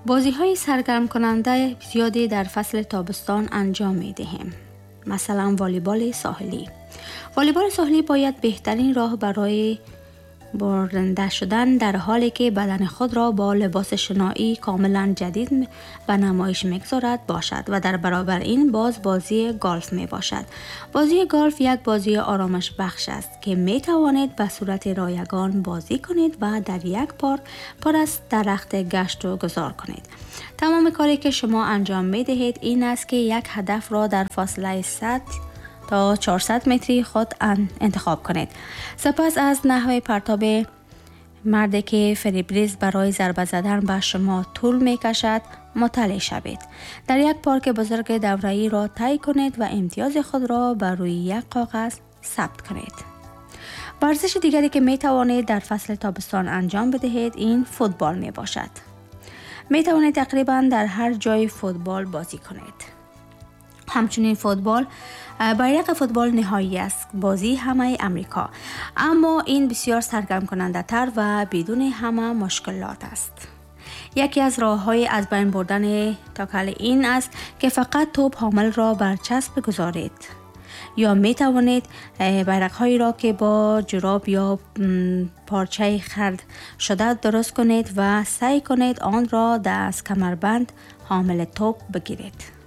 بازی های سرگرم کننده زیادی در فصل تابستان انجام می دهیم. مثلا والیبال ساحلی. والیبال ساحلی باید بهترین راه برای برنده شدن در حالی که بدن خود را با لباس شنایی کاملا جدید به نمایش میگذارد باشد و در برابر این باز بازی گلف می باشد. بازی گلف یک بازی آرامش بخش است که می توانید به صورت رایگان بازی کنید و در یک پارک پر از درخت گشت و گذار کنید. تمام کاری که شما انجام می دهید این است که یک هدف را در فاصله 100 تا 400 متری خود انتخاب کنید. سپس از نحوه پرتاب مردی که فریبریز برای ضربه زدن به شما طول می کشد مطلع شوید. در یک پارک بزرگ دوره‌ای را طی کنید و امتیاز خود را بر روی یک کاغذ ثبت کنید. ورزش دیگری که می توانید در فصل تابستان انجام بدهید این فوتبال می باشد. می توانید تقریبا در هر جای فوتبال بازی کنید. همچنین فوتبال، بیرق فوتبال نهایی است، بازی همه امریکا، اما این بسیار سرگرم کننده تر و بدون همه مشکلات است. یکی از راه های از بین بردن تاکل این است که فقط توپ حامل را بر چسب بگذارید یا می توانید بیرق هایی را که با جراب یا پارچه خرد شده درست کنید و سعی کنید آن را از کمربند حامل توپ بگیرید.